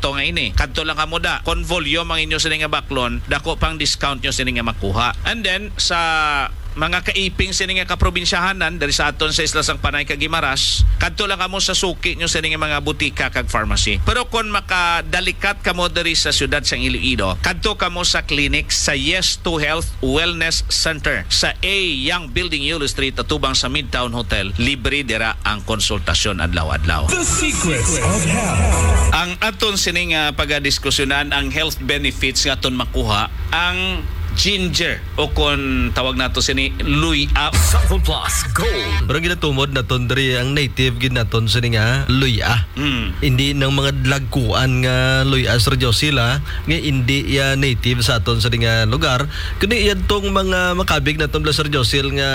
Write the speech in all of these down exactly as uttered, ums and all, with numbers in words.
produkto nga ini. Kadto lang kamo da. Kon volume ang inyo sini nga baklon, dako pang discount nyo sini nga makuha. And then, sa mga kaiping sini nga kaprobinsyahanan, diri sa aton sa Isla sang Panay kag Guimaras, kadto lang kamo sa suki nyo sini nga mga butika kag pharmacy. Pero kon makadalikat kamo diri sa siyudad sang Iloilo, kadto kamo sa clinic sa Yes to Health Wellness Center sa A Young Building, Yulo Street, atubang sa Midtown Hotel. Libre dira ang konsultasyon adlaw-adlaw. The Secrets of Health. Ang aton sini nga pagadiskusyonan ang health benefits nga aton makuha ang ginger o kon tawag nato sini luya. Sample Plus Gold. Pero ginatumod naton diri ang native gid naton sini nga luya. Mm. Hindi nang mga dlagkuan nga luya, Sir Josil, ah, nga hindi ya native sa aton sini nga lugar. Kundi yadtong mga makabig naton bala, Sir Josil, nga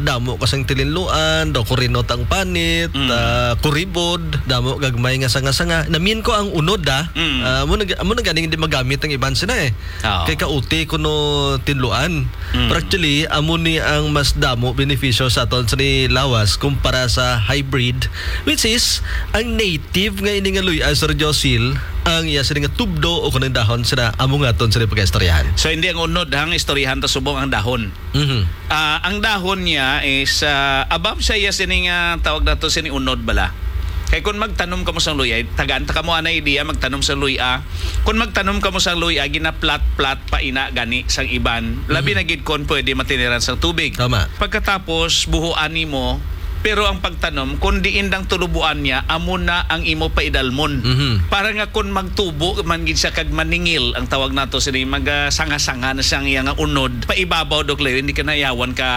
damo kasang tilinluan, daw kurinot ang panit, Mm. ah, kuribod, damo gagmay nga sanga-sanga. Namin ko ang unod, ah. Mm. Ah, amo na, amo na ganing hindi magamit ang iban sina, eh. Oo. Kay kauti kuno tinluan. Mm. Pero actually, amo ni ang mas damo benepisyo sa aton sini lawas kumpara sa hybrid, which is ang native nga ini nga luya, Sir Josil, ang iya sini nga tubdo o kanang dahon sina amo nga aton sini pagaistoryahan. So, hindi ang unod, ang istoryahan ta subong ang dahon. Mhm. Ah, ang dahon niya is, ah, above sa iya sini nga tawag nato sini unod bala. Kay kung magtanom kamo sang luya, tagaan ta kamo ana idea, magtanom sang luya. Kung magtanom kamo sang luya, ginaplat-plat pa ina gani sang iban. Labi Mhm. na gid kon pwede matiniran sang tubig. Tama. Pagkatapos, buhuan nimo, pero ang pagtanom, kung diin dang tulubuan niya, amo na ang imo paidalmon. Mhm. Para nga kung magtubo man gid siya kag maningil, ang tawag nato sini, magasanga-sanga na siyang iya nga unod, paibabaw, Doc Leo, hindi ka nayawan ka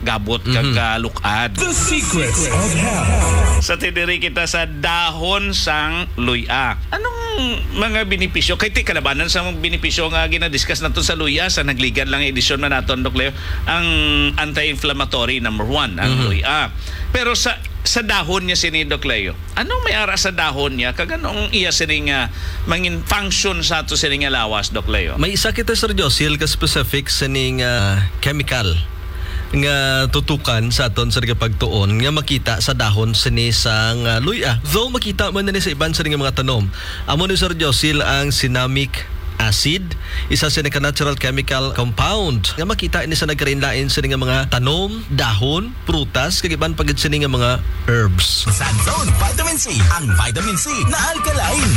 gabot kag Mhm. kalukad. The Secrets of Health. Sa tidiri kita sa dahon sang luya. Anong mga benepisyo? Kay ti kalabanan sa mga benepisyo nga ginadiscuss nato sa luya, sa nagligad lang nga edisyon man naton, Doc Leo, ang anti-inflammatory, number one, ang Mhm. luya. Pero sa, sa dahon niya sini, Doc Leo, anong may ara sa dahon niya? Kag anong iya sini nga mangin function sa ato sini nga lawas, Doc Leo? May isa kita, Sir Josil, ka specific sini nga chemical nga tutukan sa aton sa pagtuon nga makita sa dahon sini sang, ah, luya. Though makita man ni sa iban sini nga mga tanom, amo ni, Sir Josil, ang cinnamic acid, isa sini ka natural chemical compound nga makita ini sa nagkalain-lain sini nga mga tanom, dahon, prutas, kag iban pa gid sini nga mga herbs. Sa Zone Vitamin C, ang vitamin C na alkaline.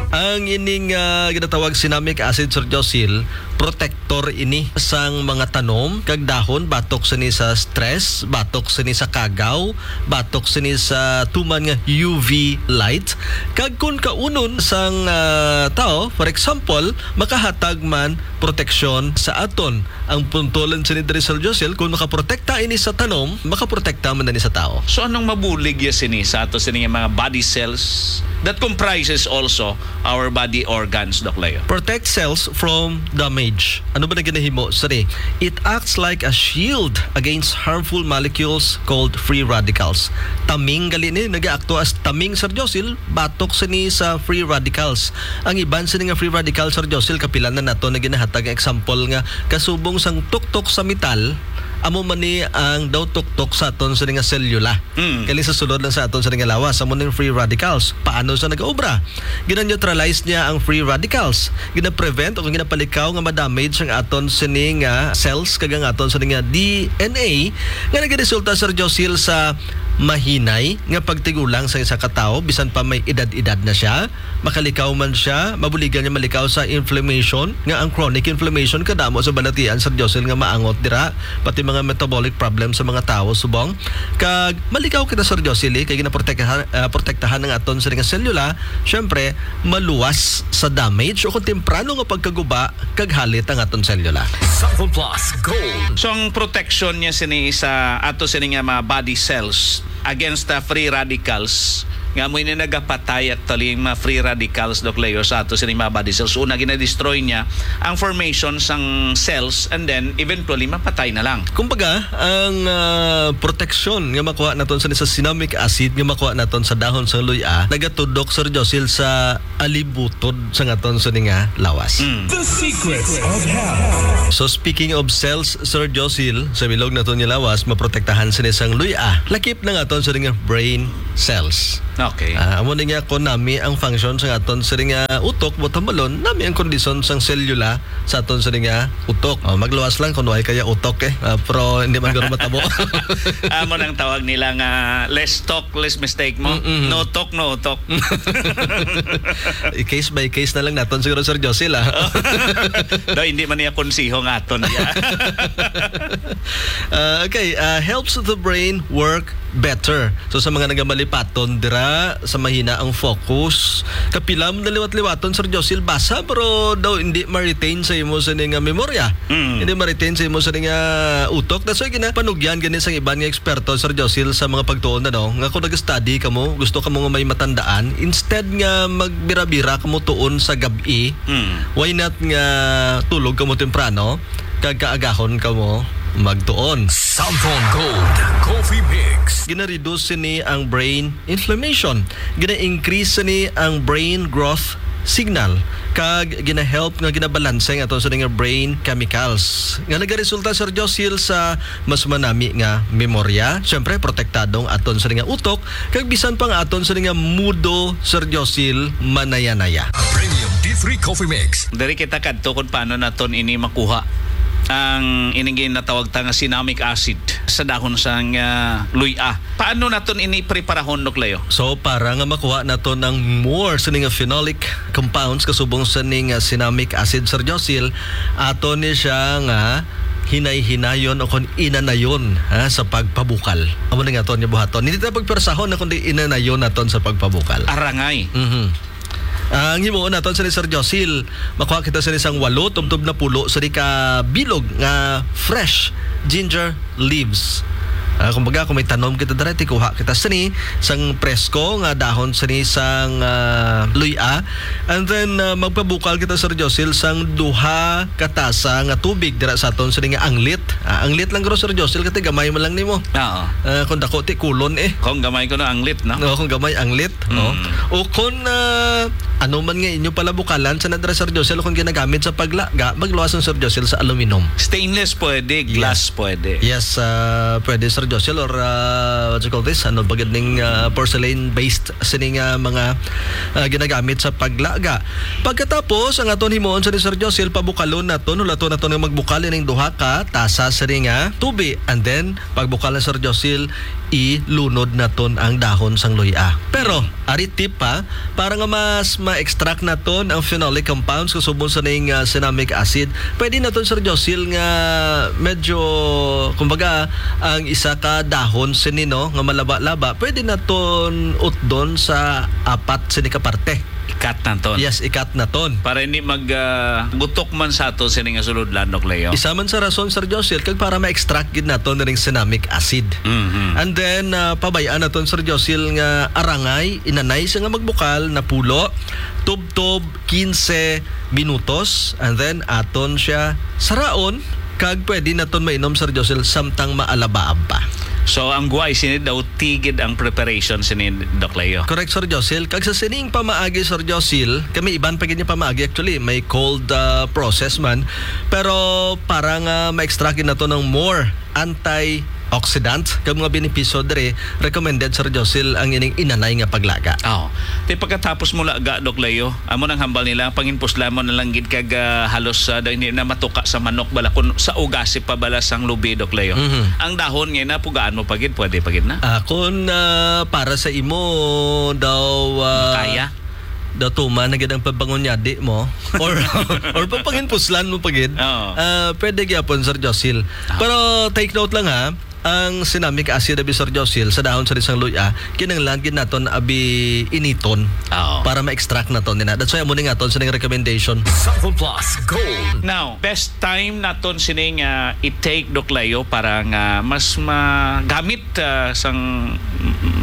Ang ining, ah, ginatawag cinnamic acid, Sir Josil, protector ini sang mga tanom kag dahon batok sini sa stress, batok sini sa kagaw, batok sini sa tuman nga U V light. Kag kun kaunon sang, ah, tao, for example, makahatag man proteksyon sa aton. Ang punto lang sini diri, Sir Josil, kung makaprotekta ini sa tanom, makaprotekta man ini sa tao. So, anong mabulig ya sini sa ato sini nga mga body cells that comprises also our body organs, Doc Leo? Protect cells from damage. Ano ba na ginahimo sini? It acts like a shield against harmful molecules called free radicals. Taming gali ni, nagaakto as taming, Sir Josil, batok sini sa free radicals. Ang iban sini nga free radicals, Sir Josil, kapila na nato na ginahatag nga example nga kasubong sang tuktok sa metal, amo man ni ang daw tuktok sa aton sini nga selula. Mm. Kani sa sulod lang sa aton sini nga lawas, amo ni free radicals. Paano sa nag-obra? Gina-neutralize niya ang free radicals. Gina-prevent o ginapalikaw nga ma-damage ang aton sini nga cells kag ang aton sini nga D N A nga nagaresulta, Sir Josil, sa mahinay nga pagtigulang sa isa ka tawo bisan pa may edad-edad na siya. Makalikaw man siya, mabuligan niya malikaw sa inflammation, nga ang chronic inflammation kadamo sa balatian, Sir Josil, nga maangot dira, pati mga metabolic problem sa mga tawo subong. Kag malikaw kita, Sir Josil, eh, kay ginaprotektahan, ah, protektahan ang aton sini nga selula, syempre, maluwas sa damage o kung temprano nga pagkaguba kag halit ang aton selula. Sample Plus Gold. So, ang protection niya sini sa ato sini nga mga body cells against the free radicals, nga mo ini nagapatay actually yung mga free radicals, Doc Leo, sa ato sini mga body cells. Una, ginadestroy niya ang formation sang cells and then eventually mapatay na lang. Kumbaga, ang, ah, proteksyon nga makuha naton sa, sa cinnamic acid nga makuha naton sa dahon sang luya, nagatudok, Sir Josil, sa alibutod sa aton sini nga lawas. Mm. The Secrets of Health. So, speaking of cells, Sir Josil, sa bilog naton nga lawas, maprotektahan sini sang luya. Lakip na nga aton sini nga brain cells. Okay. Ah, amo ni nga kung nami ang function sa aton sini nga utok, buot hambalon, nami ang kondisyon sang selula sa aton sini nga utok. Oh, magluwas lang kung way kaya utok eh. Ah, pero hindi man guro matabo. Amo nang tawag nila nga less talk, less mistake mo. Mm-mm. No talk, no utok. I-case by case na lang naton siguro, Sir Josil, ah. Daw, hindi man niya konsiho nga aton niya. Ah, okay, ah, helps the brain work better. So, sa mga nagamalipaton dira, sa mahina ang focus, kapila mo naliwat-liwaton, Sir Josil, basa, pero daw hindi ma-retain sa imo sini nga memorya. Mm. Hindi ma-retain sa imo sini nga utok. That's why ginapanugyan gani sang iban nga eksperto, Sir Josil, sa mga pagtuon, ano, nga kung nag-study kamo, gusto kamo nga may matandaan, instead nga magbira-bira kamo tuon sa gab-i, Mm. why not nga tulog kamo temprano, kag kaagahon kamo magtuon? Samsung Gold Coffee Mix. Ginareduce sini ang brain inflammation. Gina-increase sini ang brain growth signal, kag gina-help nga ginabalanse ang aton sini nga brain chemicals, nga nagaresulta, Sir Josil, sa mas manami nga memorya. Siyempre, protektado ang aton sini nga utok, kag bisan pa nga aton sini nga mudo, Sir Josil, manaya-naya. Premium D three Coffee Mix. Diri kita kadto kung paano naton ini makuha, ang ining ginatawag ta nga cinnamic acid sa dahon sang, ah, luy-a. Paano naton ini preparahon, Doc Leo? So, para nga makuha naton ang more sini nga phenolic compounds kasubong sini nga cinnamic acid, Sir Josil, aton ni siya nga hinay-hinayon o kon inanayon, ha, sa pagpabukal. Amo na nga aton nga buhaton. Hindi ta pagpersahon na kundi inanayon naton sa pagpabukal. Arangay. Mhm. Ang himuon naton sini, Sir Josil, makuha kita sini sang walo tubtob na pulo sini ka bilog nga fresh ginger leaves. Ah, kumbaga, kung may tanom kita diri, tikuha kita sini sang presko nga dahon sini sang, ah, luy-a. And then, ah, magpabukal kita, Sir Josil, sang duha ka tasa nga tubig dira sa aton sini nga anglit. Ah, anglit lang guro, Sir Josil, kati gamay man lang nimo. Oo. Ah, kung dako, ti kulon eh. Kung gamay ko na anglit, no? No, kung gamay anglit, no? Mm. O kung, ah, ano man nga inyo pala bukalan sa nadra, Sir Josil, kung ginagamit sa paglaga, magluwas ang Sir Josil sa aluminum. Stainless pwede, glass Yes. pwede. Yes, ah, pwede, Sir Josil, or, ah, what you call this? Ano ba gid ning, ah, porcelain-based sining, ah, mga, ah, ginagamit sa paglaga? Pagkatapos, ang aton himuon sa ni Sir Josil, pabukalon naton, hulaton naton nga magbukal ining duha ka tasa sini nga tubi. And then, pagbukal na, Sir Josil, ilunod naton ang dahon sang luy-a. Pero, ari tip pa, para nga mas ma-extract naton ang phenolic compounds kasubong sa ning, ah, cinnamic acid, pwede naton, Sir Josil, nga medyo, kumbaga, ang isa ka dahon sini, no, nga malaba-laba, pwede naton utdon sa apat sini ka parte. I-cut naton. Yes, i-cut naton. Para hindi mag, ah, gutok man sa ato sini nga sulod, Landok Leo. Isa man sa rason, Sir Josil, kag para ma-extract gid naton ning cinnamic acid. Mhm. And then, ah, pabay-an naton, Sir Josil, nga arangay, inanay siya nga magbukal, napulo, tubtob quince minutos, and then aton siya saraon, kag pwede naton mainom, Sir Josil, samtang maalabaab pa. So, ang guway sini daw tigid ang preparation sini, Doc Leo. Correct, Sir Josil. Kag sa sining pamaagi, Sir Josil, kami iban pa gid nga pamaagi. Actually, may cold, ah, process man. Pero para nga ma-extract gid nato ng more antioxidant kag mga benepisyo diri, recommended, Sir Josil, ang ining inanay nga paglaga. Oh. Ti pagkatapos mo laga, Doc Leo, amo nang hambal nila, panginpuslan mo na lang gid kag, ah, halos, ah, daw hindi na matuka sa manok bala kun sa ugasi pa bala sang lubi, Doc Leo. Mhm. Ang dahon nga na, pugaan mo pa gid, pwede pa gid na. Ah, kun, ah, para sa imo daw, ah, Makaya? daw tuman na gid ang pagbangunyadi mo or, or papanginpuslan mo pa gid, Oo. ah, pwede gyapon, Sir Josil. Ah. Pero take note lang ha, ang cinnamic acid abi, Sir Josil, sa dahon sa isang luya, kinahanglan gid naton abi initon Oo. para ma-extract naton nina. That's why amo ni nga aton sa ning recommendation. Sample Plus Gold. Now, best time naton sining, ah, i-take, Doc Leo, para nga mas magamit, ah, sang, mm,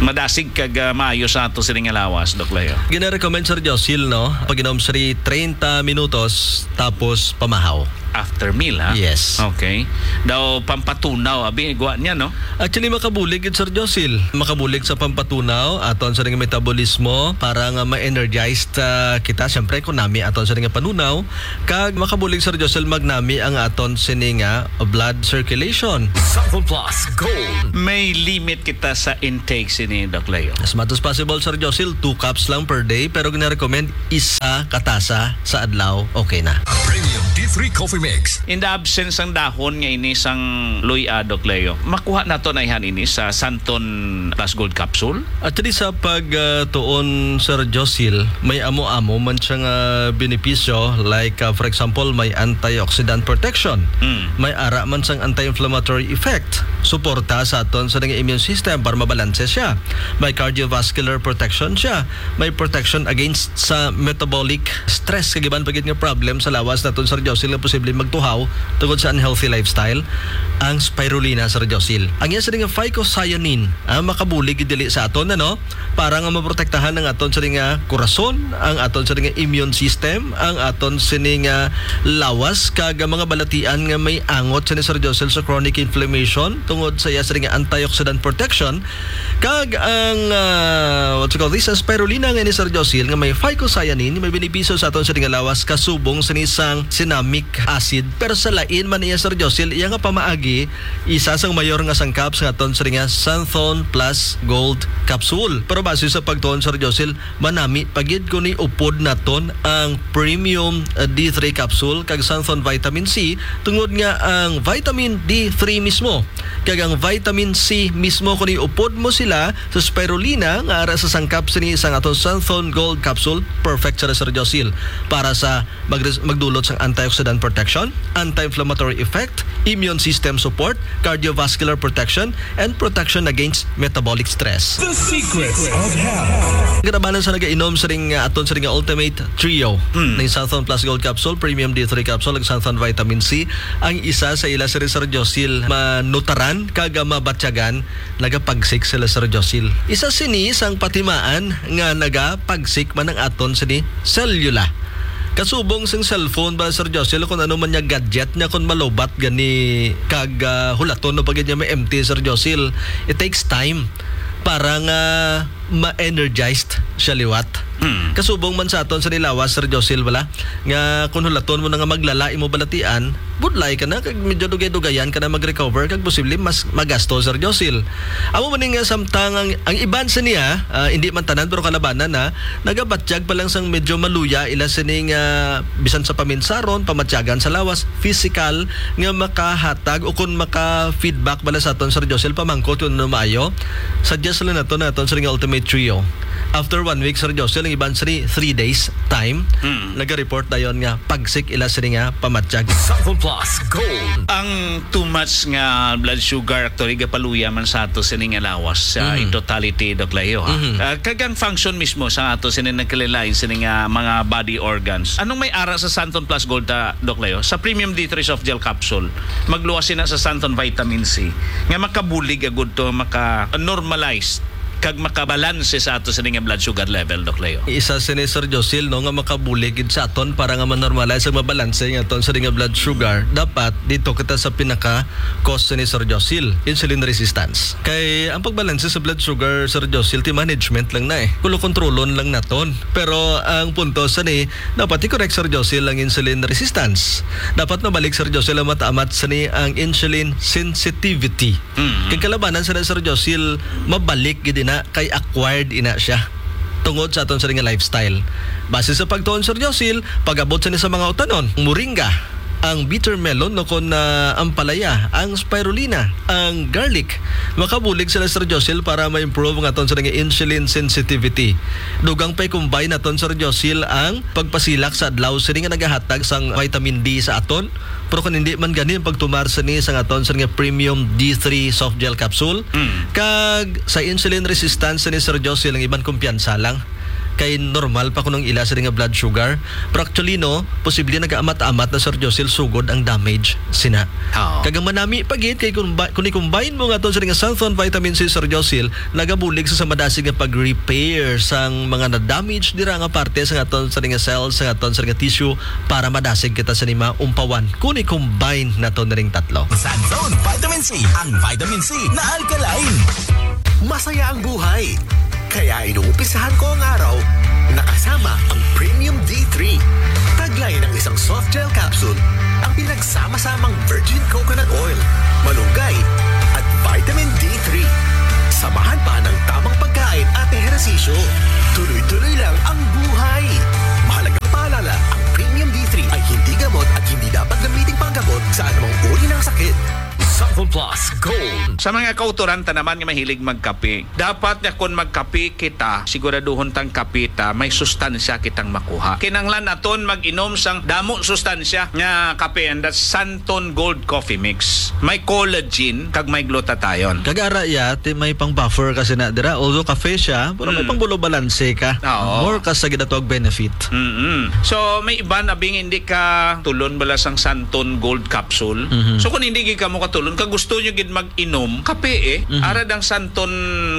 madasig kag, ah, maayo sa ato sining nga lawas, Doc Leo. Gina-recommend, Sir Josil, no? Pag-inom sa treinta minutos, tapos pamahaw. after meal, ha? Yes. Okay. Daw pampatunaw, abi, gwa niya, no? Actually, makabulig gid, Sir Josil. Makabulig sa pampatunaw, aton sa ring metabolismo, para nga ma-energized, ah, kita. Siyempre, kung nami aton sa ring panunaw, kag makabulig, Sir Josil, magnami ang aton sini nga blood circulation. Santhon Plus Gold. May limit kita sa intake sini, Doc Leo. As much as possible, Sir Josil, two cups lang per day, pero gina-recommend isa ka tasa sa adlaw, okay na. Premium D three Coffee Mix. In the absence sang dahon nga ini sang luy-a, Doc Leo, makuha nato na ihan ini sa Santon Plus Gold Capsule? Actually, sa pag, ah, tuon, Sir Josil, may amo-amo man siya nga benepisyo, like, ah, for example, may antioxidant protection, Mm. may ara man sang anti-inflammatory effect, suporta sa aton sa nga immune system para mabalanse siya, may cardiovascular protection siya, may protection against sa metabolic stress, kag iban pa gid nga problem sa lawas naton, Sir Josil, nga posibleng magtuhaw tungod sa unhealthy lifestyle, ang spirulina, Sir Josil. Ang iya sini nga phycocyanin, ah, makabulig gid dili sa aton, ano, para nga maprotektahan ang aton sini nga korason, ang aton sini nga immune system, ang aton sini nga lawas, kag ang mga balatian nga may angot sini, Sir Josil, sa chronic inflammation tungod sa iya sini nga antioxidant protection. Kag ang, ah, what you call this, ang spirulina nga ni Sir Josil nga may phycocyanin, may benepisyo sa aton sini nga lawas kasubong sini sang cinnamic acid. Pero sa lain man niya, Sir Josil, iya nga pamaagi, isa sang mayor nga sangkap sa aton sini nga Santhon Plus Gold Capsule. Pero base sa pagtuon, Sir Josil, manami pa gid kung iupod naton ang Premium, ah, D three Capsule kag Santhon Vitamin C, tungod nga ang Vitamin D three mismo kag ang Vitamin C mismo, kung iupod mo sila sa spirulina nga ara sa sangkap sini sang aton Santhon Gold Capsule, perfect sila, Sir Josil, para sa magres-, magdulot sang antioxidant protection, anti-inflammatory effect, immune system support, cardiovascular protection, and protection against metabolic stress. The Secrets of Health. Kalabanan sa nagainom sa ring, uh, aton sa ring Ultimate Trio, Hmm. ning Santhon Plus Gold Capsule, Premium D three Capsule, ug Santhon Vitamin C, ang isa sa ila sa Sir Josil manutaran kag mabatyagan, nagapagsik sila, Sir Josil. Isa sini sang patimaan nga nagapagsik man ang aton sini selula. Kasubong sing cellphone ba, Sir Josil, kung ano man niya gadget niya, kung malubat gani kag, ah, hulaton na ba gid niya ma-empty, Sir Josil, it takes time para nga ma-energized siya liwat. Hmm. Kasubong man sa aton sa nilawas, Sir Josil, bala, nga kung hulaton mo na nga maglala imo balatian, budlay ka na, kag medyo dugay-dugayan ka na mag-recover, kag posible mas magasto, Sir Josil. Amo man ni nga samtang ang, ang iban sa niya, ah, hindi man tanan, pero kalabanan na, nagabatyag pa lang sang medyo maluya ila sining, ah, bisan sa paminsaron, pamatyagan sa lawas, physical, nga makahatag o kung maka-feedback bala sa aton, Sir Josil, pamangkot kung ano maayo. Suggest lang nato na aton sa ring Ultimate Trio. After one week, Sir Josil, ang iban sa three days time, Hmm. naga-report dayon nga pagsik ila sini nga pamatyag. Santhon Plus Gold. Ang too much nga blood sugar actually gapaluya man sa ato sini nga lawas sa Mhm. in totality, Doc Leo, ha? Mhm. Ah, kag ang function mismo sa ato sini nagkalilain sini nga mga body organs. Anong may ara sa Santon Plus Gold ta, Doc Leo? Sa Premium D three Soft Gel Capsule, magluwas sina sa Santon Vitamin C nga makabulig agud to, maka-normalize kag makabalanse sa ato sini nga blood sugar level, Doc Leo. Isa sini, Sir Josil, no, nga makabulig gid sa aton para nga ma-normalize ug mabalanse ang aton sini nga blood sugar. Dapat dito kita sa pinaka cause sini, Sir Josil, insulin resistance. Kay ang pagbalanse sa blood sugar, Sir Josil, ti management lang na eh. Kulo kontrolon lang naton. Pero ang punto sini, dapat i-correct, Sir Josil, ang insulin resistance. Dapat mabalik, Sir Josil, ang mataamat sini ang insulin sensitivity. Mm. Kay kalabanan sila, Sir Josil, mabalik gid ina kay acquired ina siya tungod sa aton sa nga lifestyle. Base sa pagtuon, Sir Josil, pag-abot sa ni sa mga utanon, moringa, ang bitter melon, no, kon, ah, ampalaya, ang spirulina, ang garlic, makabulig sila, Sir Josil, para ma-improve ang aton sa nga insulin sensitivity. Dugang pa i-combine naton, Sir Josil, ang pagpasilak sa adlaw sini nga nagahatag sang vitamin D sa aton. Pero kung hindi man gani ang pagtumar sini sa aton sa nga premium D three soft gel capsule, Mm. kag sa insulin resistance ni Sir Josil, ang iban kumpiyansa lang. kay normal pa kuno ang ila sini nga blood sugar. Pero actually, no, posible nagaamat-amat na, Sir Josil, sugod ang damage sina. Oo. Kag ang manami pa gid kay kung ba-, kung i-combine mo nga aton sini nga Santhon Vitamin C, Sir Josil, nagabulig sa, sa madasig nga pag-repair sang mga na-damage dira nga parte sa aton sini nga cells, sa aton sini nga tissue, para madasig kita sini maumpawan kung i-combine naton ring tatlo. Santhon Vitamin C, ang vitamin C na alkaline. Masaya ang buhay. Kaya inuumpisahan ko ang araw na kasama ang Premium D three. Taglay ng isang soft gel capsule ang pinagsama-samang virgin coconut oil, malunggay, at vitamin D three. Samahan pa ng tamang pagkain at ehersisyo. Tuloy-tuloy lang ang buhay. Mahalagang paalala, ang Premium D three ay hindi gamot at hindi dapat gamitin panggamot sa anumang uri ng sakit. Santhon Plus Gold. Sa mga kautoran ta naman nga mahilig magkape, dapat nga kon magkape kita, siguraduhon tang kape ta may sustansya kitang makuha. Kinahanglan naton mag-inom sang damo sustansya nga kape, and that's Santon Gold Coffee Mix. May collagen kag may glutathione. Kag ara iya, ti may pang buffer kasi na dira. Although kape siya, pero may Mm. pang bulo balanse ka. Oo. More ka sa ginatawag benefit. Mm-mm. So, may iban abing hindi ka tulon bala sang Santon Gold Capsule. Mhm. So, kung hindi gid kamo katulon, kag gusto nyo gid mag-inom, kape eh. Mhm. Ara dang Santon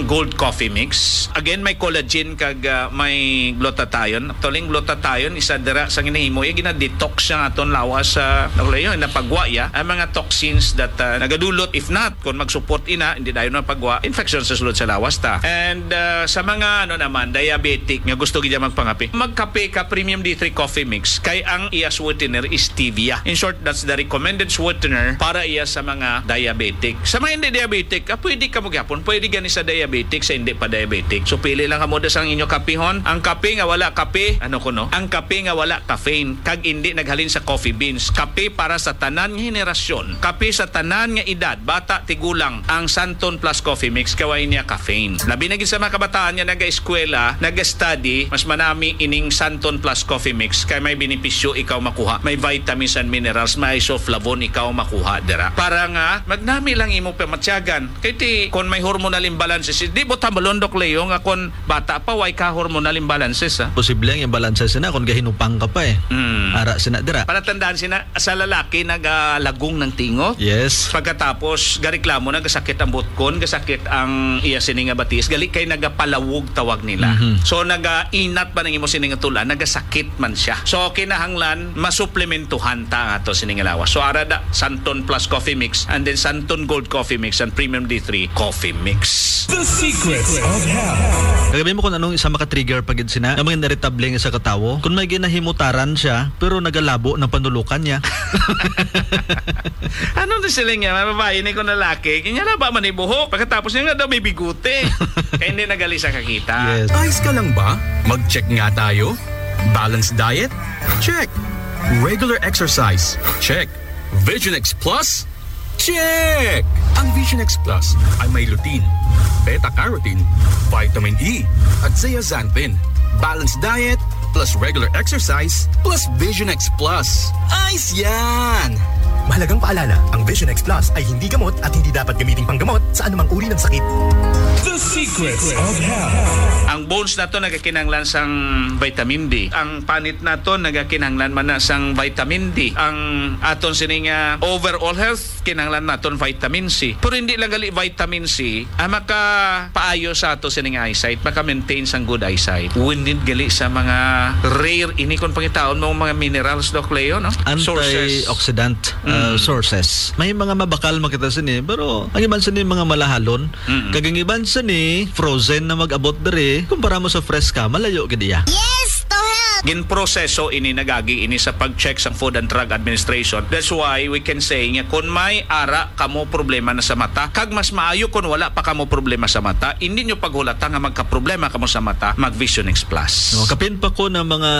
Gold Coffee Mix. Again, may collagen kag, ah, may glutathione. Actually, ang glutathione, isa dira sa ginahimo, iya gina-detox siya nga aton lawas sa, ano yun, napagwa ya, ang mga toxins that, ah, nagadulot. If not, kung mag-support ina, hindi dayon mapagwa, infection sa sulod sa lawas ta. And, ah, sa mga, ano naman, diabetic nga gusto gid magpangape, magkape ka Premium D three Coffee Mix kay ang iya sweetener is stevia. In short, that's the recommended sweetener para iya sa mga diabetic. Sa mga hindi diabetic, ah, pwede ka mo gyapon, pwede gani sa diabetic, sa hindi pa diabetic. So, pili lang kamo da sang inyo kapihon. Ang kape nga wala kape, ano kuno? Ang kape nga wala caffeine, kag hindi naghalin sa coffee beans. Kape para sa tanan nga henerasyon. Kape sa tanan nga edad, bata, tigulang, ang Santon Plus Coffee Mix, kay way niya caffeine. Labi na gid sa mga kabataan nga naga-eskwela, naga-study, mas manami ining Santon Plus Coffee Mix, kay may benepisyo ikaw makuha. May vitamins and minerals, may isoflavone ikaw makuha dira. Para nga, magnami lang imo pamatyagan. Kay ti, kung may hormonal imbalances, di mo tambalon, Doc Leo, nga kung bata pa, way ka hormonal imbalances, ha? Posible ang imbalances na kung gahinupang ka pa, eh. Mm. Ara sina dira. Palatandaan sina, sa lalaki, nagalagong ng tingo. Yes. Pagkatapos, gareklamo, nagasakit ang butkon, gasakit ang iya sini nga batis, gali kay nagapalawog tawag nila. Mhm. So, nagainat ba nang imo sini nga tulan, nagasakit man siya. So, kinahanglan, masuplementuhan ta ato sini nga lawas. So, ara da, Santon Plus Coffee Mix, and then Santon Gold Coffee Mix, and Premium D three Coffee Mix. The Secrets of Health. Kagabi mo kung anong isa maka-trigger pa gid sina, nga mga irritable nga sa katawo. Kung may ginahimutaran siya, pero nagalabo ng panulukan niya. Ano na sila niya? Mga babae ni kung lalaki, kanya laba man ibuhok. Pagkatapos niya nga daw may bigote. Kaya hindi nagali sa kakita. Yes. Ayos ka lang ba? Mag-check nga tayo. Balanced diet? Check. Regular exercise? Check. Vision X Plus? Check! Ang Vision X Plus ay may lutein, beta-carotene, vitamin E, at zeaxanthin. Balanced diet plus regular exercise plus Vision X Plus. Ayos yan! Mahalagang paalala, ang Vision X Plus ay hindi gamot at hindi dapat gamiting panggamot sa anumang uri ng sakit. The Secrets of Health. Ang bones nato nagakinahanglan sang vitamin D. Ang panit nato nagakinahanglan man na sang vitamin D. Ang aton sini nga overall health, kinahanglan naton vitamin C. Pero hindi lang gali vitamin C ang makapaayo sa ato sini nga eyesight, maka-maintain sang good eyesight. We need gali sa mga rare, ini kon pangitaon mo, mga minerals, Doc Leo, no? Sources. Antioxidant, uh, Mm. sources. May mga mabakal makita sini, pero ang iban sini mga malahalon. Mm-mm. Kag ang iban sini, frozen na mag-abot diri, kumpara mo sa fresh ka, malayo gid iya. Yes, to help! Ginproseso ini, nagagi ini sa pag-check sang Food and Drug Administration. That's why we can say nga kung may ara kamo problema na sa mata, kag mas maayo kung wala pa kamo problema sa mata, hindi nyo paghulata nga magkaproblema kamo sa mata, mag Vision X Plus. No, kapin pa ko ng mga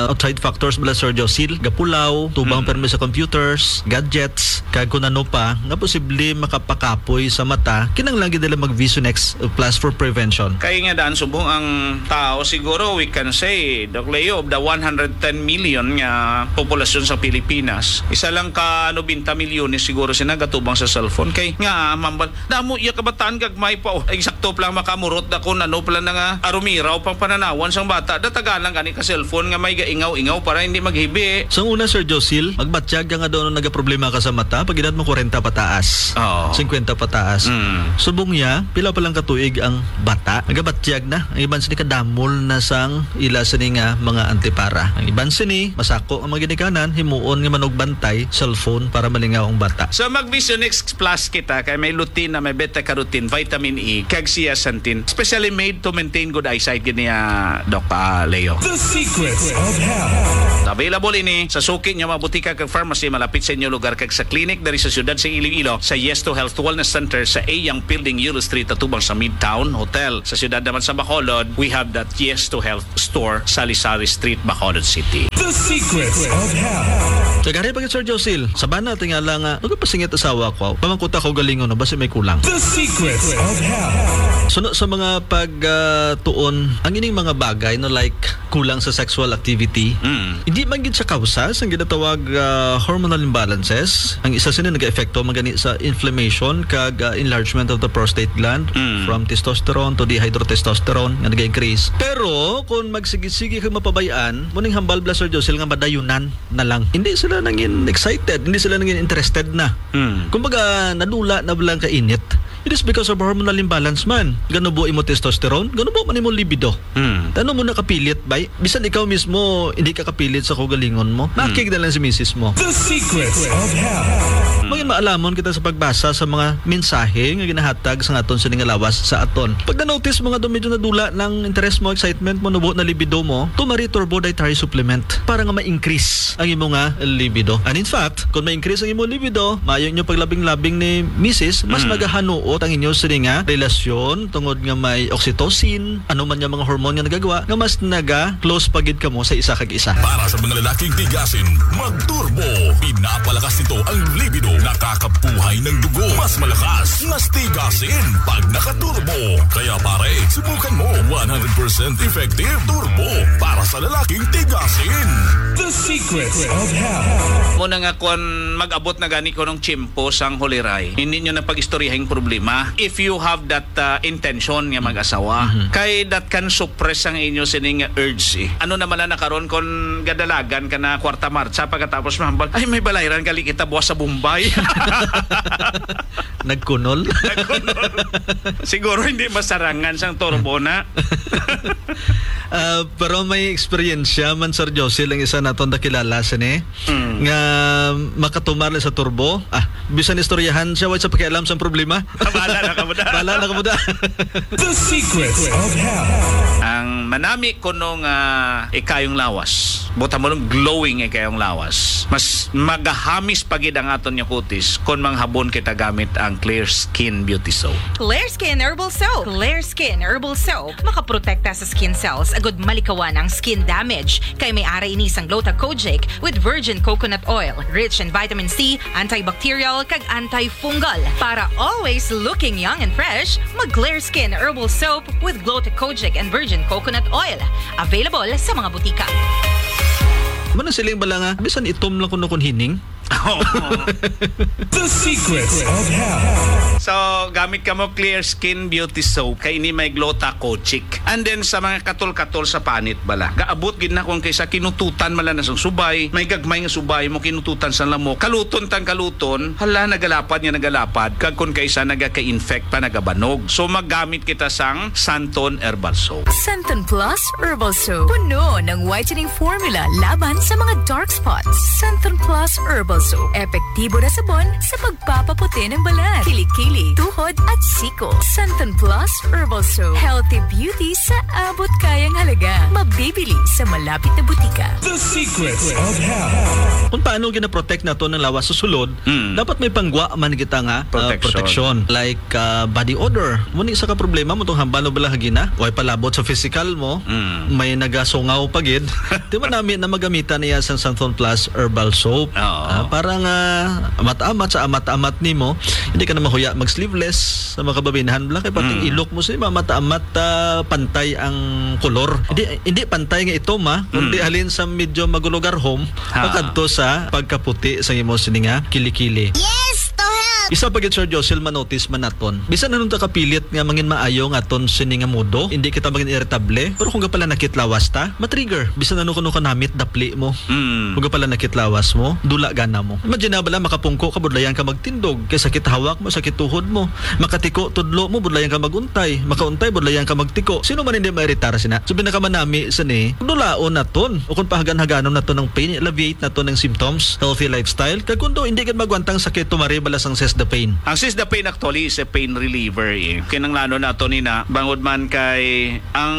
outside factors bala, Sir Josil, gapulaw, tubang Mm. permi sa computers, gadgets, kag kung ano pa, nga posible makapakapoy sa mata, kinahanglan gid nila mag Vision X Plus for prevention. Kaya nga daan subong ang tao, siguro we can say, Doc Leo, of the one hundred ten million nga populasyon sa Pilipinas, isa lang ka nobenta milyones siguro sila gatubang sa cellphone. Kay nga, mambal, damo iya kabataan, gagmay pa, oh. Eksakto pa lang makamurot da kung ano pa lang na nga arumiraw pang pananawan sang bata. Datagan lang gani ka cellphone nga may gaingaw-ingaw para hindi maghibi. Sa una, Sir Josil, magbatyag ka nga daw nagaproblema ka sa mata, pag edad mo kwarenta pataas, Oo. singkwenta pataas. Mm. Subong niya, pila pa lang ka tuig ang bata, nagabatyag na. Ang iban sini kadamol na sang ila sini nga mga antipara. Ang iban sini, masako ang mga ginikanan, himuon nga manugbantay, cellphone para malingaw ang bata. So, mag Vision X Plus kita kay may lutein na may beta carotene, vitamin E, kag zeaxanthin. Specially made to maintain good eyesight, gid niya, Doc, ah, Leo. The Secrets of Health. Available ini sa suki niyo, mga butika kag pharmacy malapit sa inyo lugar, kag sa clinic diri sa siyudad sa Iloilo, sa Yes to Health Wellness Center sa A Young Building, Euro Street, atubang sa Midtown Hotel. Sa siyudad naman sa Bacolod, we have that Yes to Health store, Salisari Street, Bacolod City. The Secrets of Health. Kagari pa gid, Sir Josil, sa bana tingala nga, nagapasingit asawa ko, pamangkuta ko galingon, no, basi may kulang. The Secrets of Health. Suno sa mga pag, ah, tuon, ang ining mga bagay, no, like kulang sa sexual activity, Mm. hindi man gid siya kausa sang ginatawag, ah, hormonal imbalances. Ang isa sini nag-epekto man gani sa inflammation kag, ah, enlargement of the prostate gland, Mm. from testosterone to dihydrotestosterone nga nag-increase. Pero kung magsigi-sige kag mapabay-an, muning hambal bala, Sir Josil, nga madayunan na lang. Hindi sila nangin excited, hindi sila nangin interested na. Mm. Kumbaga, nadula na lang ka init. It is because of hormonal imbalance man. Ganubo imo testosterone, ganubo man imo libido. Mm. Ano mo nakapilit, bay? Bisan ikaw mismo, hindi ka kapilit sa kaugalingon mo. Mm. Nakig na lang si misis mo. The Secrets of Health. Mangin maalamon kita sa pagbasa sa mga mensahe nga ginahatag sa aton sini nga lawas sa aton. Pag na-notice mo nga daw medyo nadula ng interes mo, excitement mo, nubo na libido mo, Tumari Turbo Dietary Supplement para nga ma-increase ang imo nga libido. And in fact, kung ma-increase ang imo libido, maayo inyo paglabing-labing ni misis, mas Mm. nagahanuot ang inyo sini nga relasyon tungod nga may oxytocin, ano man nga mga hormone nga nagagawa, nga mas naga-close pa gid kamo sa isa kag isa. Para sa mga lalaking tigasin, mag-turbo. Pinapalakas nito ang libido, nakakabuhay ng dugo. Mas malakas, mas tigasin pag naka-turbo. Kaya pare, subukan mo. One hundred percent effective turbo para sa lalaking tigasin. The Secrets of Health. Mo na nga kung mag-abot na gani ko nung tiyempo sang huliray, hindi nyo na pag-istoryahin problema if you have that, uh, intention nga mag-asawa. Mhm. Kay that can suppress ang inyo sining urge, eh. Ano naman na nakaron kung gadalagan ka na kwarta martsa pagkatapos mahambal, "Ay, may balayran gali kita buwas sa Bombay." Nagkunol? Nagkunol. Siguro hindi masarangan sang turbo na. Ah, pero may eksperyensya man, Sir Josil, ang isa naton nakilala sini, Mm. nga makatumar lang sa turbo. Ah, bisan istoryahan siya, way sa pakialam sang problema. Bahala na ka mo da. Bahala na ka mo da. The Secrets of Health. Ang manami kuno nga ikayong lawas, buta mo lang glowing ikayong lawas, mas magahamis pa gid ang aton nga kutis kon manghabon kita gamit ang Clear Skin Beauty Soap. Clear Skin Herbal Soap. Clear Skin Herbal Soap makaprotekta sa skin cells agud malikawan ang skin damage. Kay may ara ini sang Gluta Kojic with virgin coconut oil, rich in vitamin C, antibacterial, kag antifungal. Para always looking young and fresh, mag Clear Skin Herbal Soap with Gluta Kojic and virgin coconut oil. Available sa mga butika. Ano siling bala nga, bisan itom lang kuno kun hining? Oo. The Secrets of Health. So, gamit ka mo Clear Skin Beauty Soap. Kay ini may Gluta Kojic. And then, sa mga katol-katol sa panit bala, gaabot gid na kung kaysa kinututan mala na sang subay, may gagmay nga subay mo kinututan sa lamok, kaluton tang kaluton, hala, nagalapad nga nagalapad, kag kung kaysa nagaka-infect pa, nagabanog. So, maggamit kita sang Santon Herbal Soap. Santon Plus Herbal Soap. Puno ng whitening formula laban sa mga dark spots. Santon Plus Herbal Soap. Epektibo na sabon sa pagpapaputi ng balat, kilikili, tuhod, at siko. Santon Plus Herbal Soap. Healthy beauty sa abot kayang halaga. Mabibili sa malapit na butika. The Secrets of Health. Kung paano ginaprotect nato ng lawas sa sulod, Mm. dapat may panggwa man kita nga, ah, Protection. protection. Like, ah, body odor. Muni sa ka problema mo tong hambal o balahagina, way palabot sa physical mo, Mm. may nagasungaw pa gid. Di man nami na magamitan niya sa Santon Plus Herbal Soap. Oo. Ah, Para nga amat-amat sa amat-amat nimo, hindi ka na mahuya mag-sleeveless sa mga kababainahan bala, kay pati ang Mm. ilok mo sa amat-amat, ah, pantay ang kolor. Hindi, hindi pantay nga itom, ha, kundi Mm. halin sa medyo magulugarhom, Ha. pakadto sa pagkaputi sa imo sini nga kilikili. Yes, to help! Isa pa gid, Sir Josil, manotis man naton. Bisan anong ta kapilit nga mangin maayo nga aton sini nga modo, hindi kita mangin iritable, pero kung gapalanakit lawas ta, matrigger. Bisan ano kuno kanamit dapli mo. Mm. Kung gapalanakit lawas mo, dula gana mo. Imagine na bala, makapungko ka, budlayan ka magtindog, kay sakit hawak mo, sakit tuhod mo. Makatiko, tudlo mo, budlayan ka maguntay. Makauntay, budlayan ka magtiko. Sino man hindi mairitar sina? So, pinakamanami sa ni, dulaon naton. O kung pahagan-haganon naton ang pain, alleviate naton ang symptoms, healthy lifestyle. Kag kung do, hindi gid magwantang sakit, tumari bala sang Seize the Pain. Ang Seize the Pain actually is a pain reliever, eh. Kinanglanon nato ni na, bangod man kay ang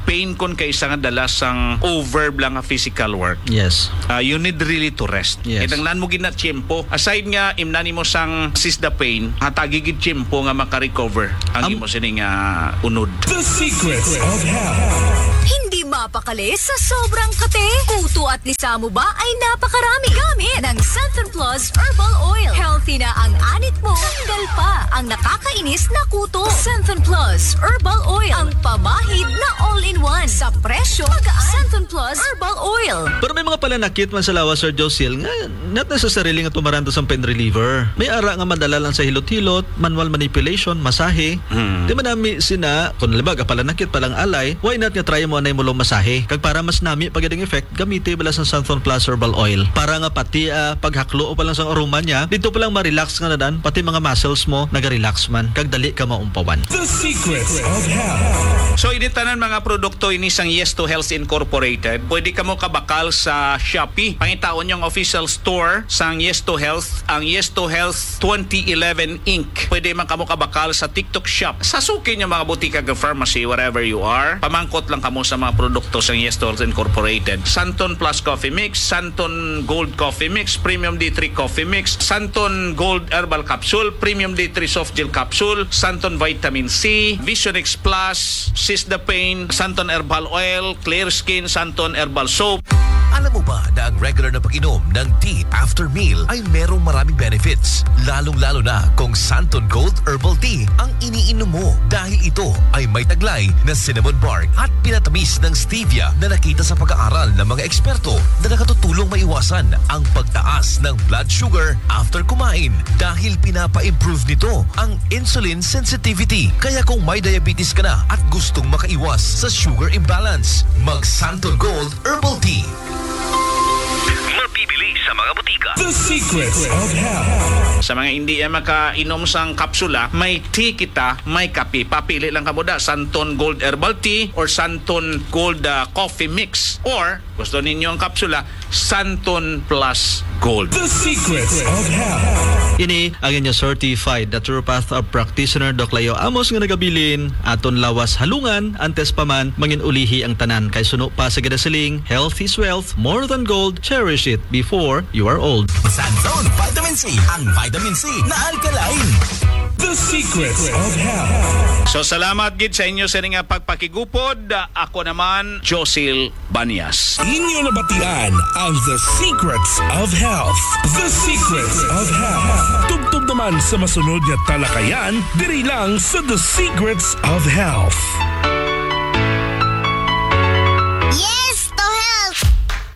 pain kon kay isa nga dala sang over lang nga physical work. Yes. Ah, you need really to rest. Yes. Kinanglan mo gid na tiyempo. Aside nga imnan nimo sang Seize the Pain, hatagi gid tiyempo nga maka-recover ang Am- imo sining, ah, unod. The Secrets of Health. Hindi mapakali sa sobrang kape. Kuto at lisa mo ba ay napakarami? Gamit ng Santon Plus Herbal Oil. Healthy na ang anit mo, tanggal pa ang nakakainis na kuto. Santon Plus Herbal Oil, ang pamahid na all-in-one sa presyo magaan. Santon Plus Herbal Oil. Pero may mga palanakit man sa lawas, Sir Josil, nga not necessarily nga tumaran to sa pain reliever. May ara nga madala lang sa hilot-hilot, manual manipulation, masahe. Hmm. Di man nami sina, kung halimbawa, palanakit pa lang alay, why not nga try mo anay mo lang masahe? Kag para mas nami pa gid ang effect, gamiti bala sang Santon Plus Herbal Oil. Para nga pati, ah, paghaklo o pa lang sang aroma niya, dito pa lang ma-relax nga nadan, pati mga muscles mo naga-relax man, kag dali ka maumpawan. The Secrets of Health. So, ini tanan mga produkto ini sang Yes to Health Incorporated. Pwede kamo kabakal sa Shopee. Pangitaon yung official store sang Yes to Health, ang Yes to Health twenty eleven Inc. Pwede man kamo kabakal sa TikTok Shop. Sa suki niyo mga butika, pharmacy, wherever you are, pamangkot lang kamo sa mga produkto sang Yes to Health Incorporated. Santon Plus Coffee Mix, Santon Gold Coffee Mix, Premium D three Coffee Mix, Santon Gold Herbal Capsule, Premium D three Soft Gel Capsule, Santon Vitamin C, Vision X Plus, Seize the Pain, Santon Herbal Oil, Clear Skin, Santon Herbal Soap. Alam mo ba na ang regular na pag-inom ng tea after meal ay merong maraming benefits, lalong-lalo na kung Santon Gold Herbal Tea ang iniinom mo, dahil ito ay may taglay na cinnamon bark at pinatamis ng stevia na nakita sa pag-aaral ng mga eksperto na nakatutulong maiwasan ang pagtaas ng blood sugar after kumain, dahil pinapa-improve nito ang insulin sensitivity. Kaya kung may diabetes ka na at gustong makaiwas sa sugar imbalance, mag Santon Gold Herbal Tea. Mabibili sa mga butika. The Secrets of Health. Sa mga hindi, eh, makainom sang kapsula, may tea kita, may kape. Papili lang kamo da, Santon Gold Herbal Tea or Santon Gold, ah, Coffee Mix. Or, gusto ninyo ang kapsula, Santon Plus Gold. The Secrets of Health. Ini ang inyo certified naturopath practitioner, Doc Leo Amos, nga nagabilin, aton lawas halungan, antes pa man mangin-ulihi ang tanan. Kay suno pa sa ginasiling, "Health is wealth, more than gold, cherish it before you are old." Santon Vitamin C, ang vitamin C na alkaline. The Secrets of Health. So, salamat gid sa inyo sa nga pagpakigupod. Ako naman, Josil Banyas. Inyo nabatian ang The Secrets of Health. The Secrets of Health. Tubtob naman sa masunod nga talakayan, diri lang sa The Secrets of Health. Yes to health!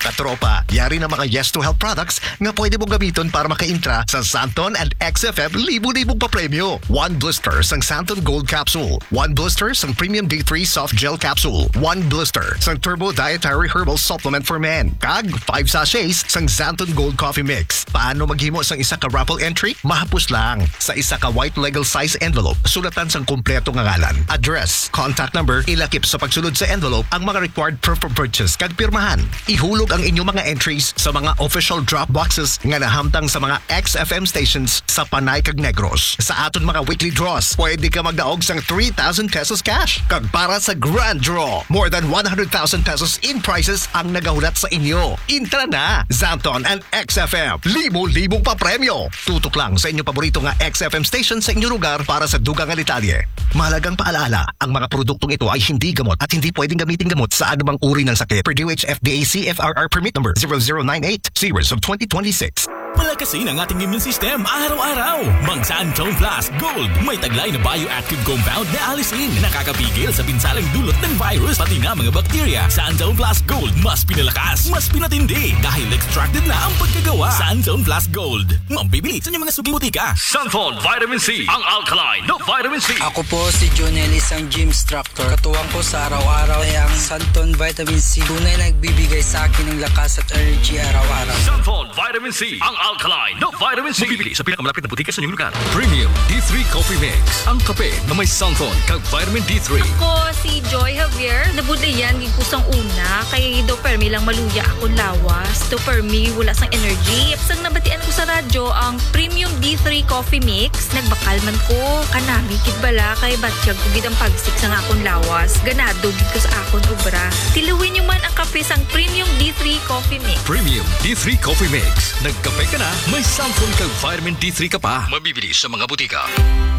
Katropa, yari na mga Yes to Health products nga pwede mong gamiton para makaintra sa Santon and X F M libo-libong papremyo. One blister sang Santon Gold Capsule, one blister sang Premium D three Soft Gel Capsule, one blister sang Turbo Dietary Herbal Supplement for Men, kag five sachets sang Santon Gold Coffee Mix. Paano maghimo sang isa ka raffle entry? Mahapos lang. Sa isa ka white legal size envelope, sulatan sang kompleto nga ngalan, address, contact number, ilakip sa pagsulod sa envelope ang mga required proof of purchase kag pirmahan. Ihulog ang inyong mga entries sa mga official drop boxes nga nahamtang sa mga X F M stations sa Panay kag Negros. Sa aton mga weekly draws, pwede ka magdaog sang three thousand pesos cash. Kag para sa grand draw, more than one hundred thousand pesos in prizes ang nagahulat sa inyo. Intra na! Santon and X F M. Libo-libong papremyo. Tutok lang sa inyo paborito nga X F M station sa inyo lugar para sa dugang nga detalye. Mahalagang paalaala, ang mga produktong ito ay hindi gamot at hindi pwedeng gamitin gamot sa anumang uri ng sakit. Per D O H F D A C F R R Permit Number zero zero nine eight, Series of twenty twenty-six. Palakasin ang ating immune system araw-araw. Mag Santon Plus Gold. May taglay na bioactive compound na allicin na nakakapigil sa pinsalang dulot ng virus, pati na mga bakterya. Santon Plus Gold, mas pinalakas, mas pinatindi, dahil extracted na ang pagkagawa. Santon Plus Gold. Mabibili sa inyong mga suking butika. Santon Vitamin C, ang alkaline na vitamin C. Ako po si Jonel, isang gym instructor. Katuwang ko sa araw-araw ay ang Santon Vitamin C. Tunay na nagbibigay sa akin ng lakas at energy araw-araw. Santon Vitamin C, ang alkaline na vitamin C. Mabibili sa pinakamalapit na butika sa inyong lugar. Premium D three Coffee Mix, ang kape na may Santon kag vitamin D three. Ako si Joy Javier. Nabudlayan gid ko sang una kay daw permi lang maluya akon lawas. Daw permi wala sang energy. Sang nabatian ko sa radyo ang Premium D three Coffee Mix, nagbakal man ko. Kanami gid bala kay batyag ko gid ang pagsik sang akon lawas. Ganado gid ko sa akon obra. Tiluwi nyo man ang kape sang Premium D three Coffee Mix. Premium D three Coffee Mix. Nagkape ka na, may Santon kag vitamin D three ka pa. Mabibili sa mga butika.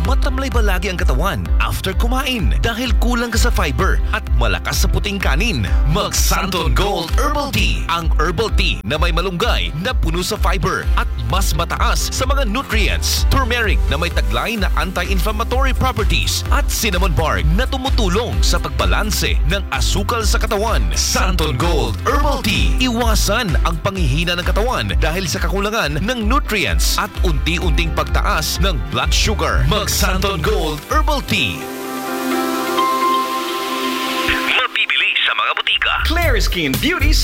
Matamlay ba lagi ang katawan after kumain dahil kulang ka sa fiber at malakas sa puting kanin? Mag Santon Gold Herbal Tea, ang herbal tea na may malunggay na puno sa fiber at mas mataas sa mga nutrients. Turmeric na may taglay na anti-inflammatory properties at cinnamon bark na tumutulong sa pagbalanse ng asukal sa katawan. Santon Gold Herbal Tea. Iwasan ang panghihina ng katawan dahil sa kakulangan ng nutrients at unti-unting pagtaas ng blood sugar. Mag Santon Gold Herbal Tea. Mabibili sa mga butika. Clear Skin Beauty sa